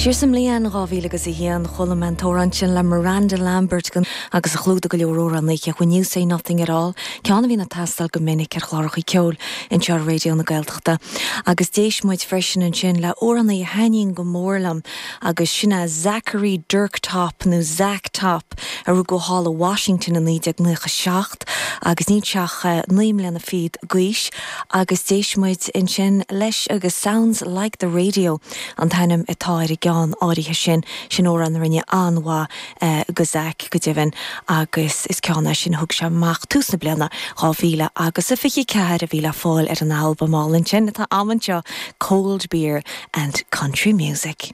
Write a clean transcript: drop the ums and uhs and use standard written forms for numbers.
Siar sa mbliain 2000 agus 1, chuala mé an t-amhrán sin le Miranda Lambert agus a chlúdaigh go leor amhránaithe, When You Say Nothing At All, ceann a bhíonn ag teastáil go minic ar chláracha ceoil anseo ar Raidió na Gaeltachta. Agus d'éist muid freisin ansin le amhránaí a thaitníonn go mór liom agus sin é Zachary Dirk Top nó Zach Top a rugadh thall i Washington i 1997 agus níl sé ach 9 mbliana fichead d'aois agus d'éist muid ansin leis agus Sounds Like The Radio an t-ainm atá ar an gceann áirithe sin, sin amhrán a rinne an-mhaith do Zach go deimhin agus is ceann é sin a thug sé amach tús na bliana 2000 agus a 24 a bhí le fáil ar an albam álainn sin atá agam anseo, Cold Beer and Country Music.